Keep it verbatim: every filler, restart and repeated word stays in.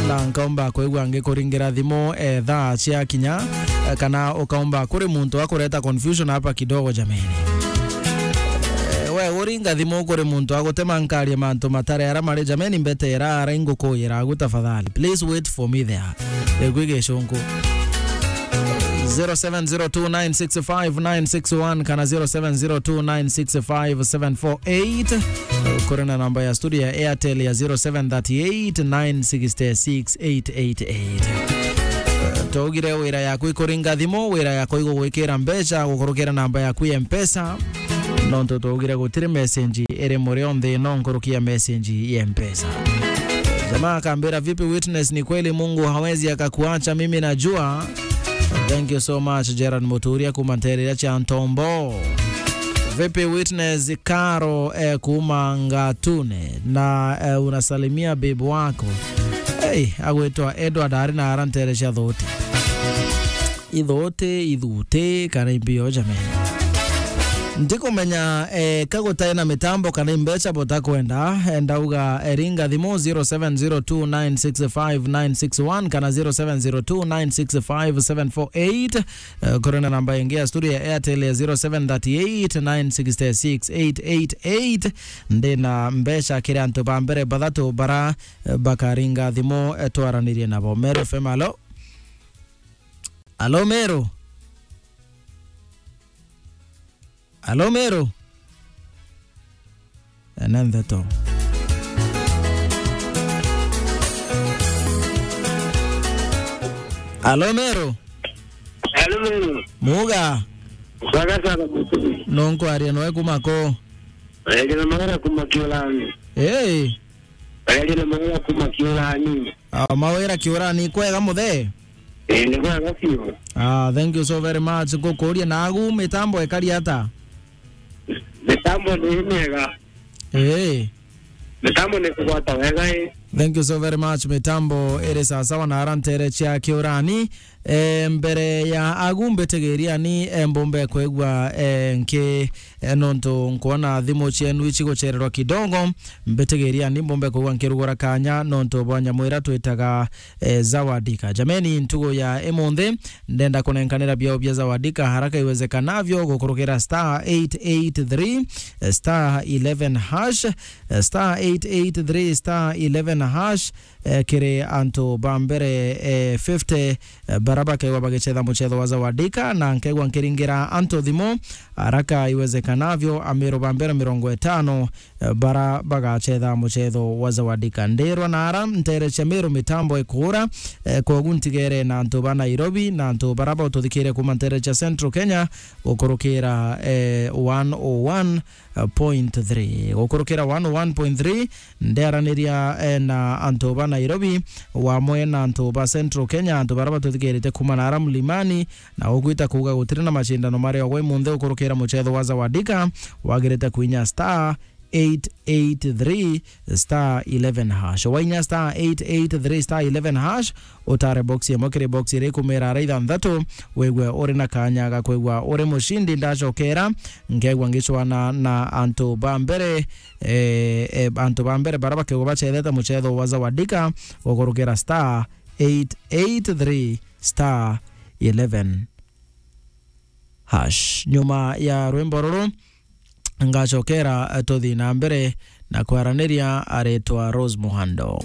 Na nkaumba kwigua ngikuringira thimu, eh, thaa cia kinya, eh, kana ukaumba kuri muntu akureta confusion hapa kidogo, jameni. Eh, we uringa thimu kuri muntu agutema nkaria mantu matari ara mari, jameni, mbete ira ara ingukuyira agu tafadhali. Please wait for me there. Egwi gicunku. Zero seven zero two nine six five nine six one kana zero seven zero two nine six five seven four eight. Kuri na namba ya studio ya Airtel ya zero seven thirty eight nine six six eight eight eight. Twaugire wira yaku ikuringa thimu, wira yaku igugwikira mbeca gukurukira namba yaku ya Mpesa. Nontu twaugire gutiri message iri murio nthi ino nkuruki ya message ya Mpesa. Jamaa akambira, "Vipi witness, ni kweli Mungu hawezi akakuacha, mimi najua." Thank you so much, Gerard Muturia kuma ntereria cia Ntombo. Vipi witness, Karo, eh, kuma Ngatune, na, eh, unasalimia babe wako. Hey, agwitwa Edward ari na ara ntere cia Thuti. Ithuti, ithuti, kana imbio, jameni. Ndikumenya, eh, ka gutai na mitambo kana imbeca butakwenda, eh, ndauga, eh, ringa thimu zero seven zero two nine six five nine six one kana zero seven zero two nine six five seven four eight. Eh, kuri na namba ingi ya studio ya Airtel ya zero seven thirty eight nine six six eight eight eight. Ndi na mbeca kiri antu ba mbere bathatu bara, eh, bakaringa thimu, eh, twaranirie nabo. Meru F M, alo? Alo, Meru? Alo, Meru? Ene ntheto. Alo, Meru? Alo, Meru. Muga? Saga sana, Mutugi. Nunkwaria noe kuma ku? Aria na Mawira kuma Kiurani. Hey. Aria na Mawira kuma Kiurani. Ah, Mawira Kiurani, kwega muthe? Eh, ni kwega biu. Ah, thank you so very much. Ngukuria nagu mitambo ikari ata? Mitambo ni miega. Eh. Mitambo ni kugwata wega, eh. Thank you so very much. Mitambo iri sawasawa na ara ntere cia Kiurani. Eh, mbere ya agu mbitigiriani, eh, mbumbe kwigua, eh, nki, eh, nontu nkwona thimu cienu icigucererwa kidogo, mbitigiriani mbumbe kwigua nkirugura kanya nontu bwa nyamu ira twitaga, eh, Zawadika. Jameni, ntugu ya imunthi, ndenda kunenkanira biao bia Zawadika haraka iwezekanavyo gukurukira star eight eight three, eh, star eleven hash, eh, star eight eight three star eleven hash, eh, kiri antu ba mbere, eh, fifty, eh, bara bakegwa bagicetha mucetho wa Zawadika, na nkegwa nkiringira antu thimu, haraka iwezekanavyo, Amiru ba mbere mirongo itano, eh, bara bagacetha mucetho wa Zawadika. Ndirwa na ara ntere cia Miru mitambo ikura, eh, kogu ntigere na antu ba Nairobi, na antu bara baututhikiire kuma ntere cia Central Kenya, gukurukira, eh, one oh one point three. Gukurukira one oh one point three, ndiaraniria, eh, na antu ba Nairobi, wamwe na antu ba Central Kenya, antu bara batuthikirite kuma na ara mlimani, na ugwita kuuga gutiri na macindano mari ogwe munthi gukurukira mucetho wa Zawadika, wagirite kuinya star eight eight three star eleven hash. Wainya star eight eight three star eleven hash, utare box imwe kiri box iri kumira ara ithanthatu, wigwe uri na kanya ga kwigwa uri mucindi. Ndacokera, nkegwa ngicwana na antu ba mbere, eh, eh, antu ba mbere bara bakegwa bacethete mucetho wa Zawadika, gukurukira star eight eight three star eleven hash. Nyuma ya rwimbo ruru, ngacokera, eh, tuthi na mbere na kwaraniria, aritwa Rose Muhando.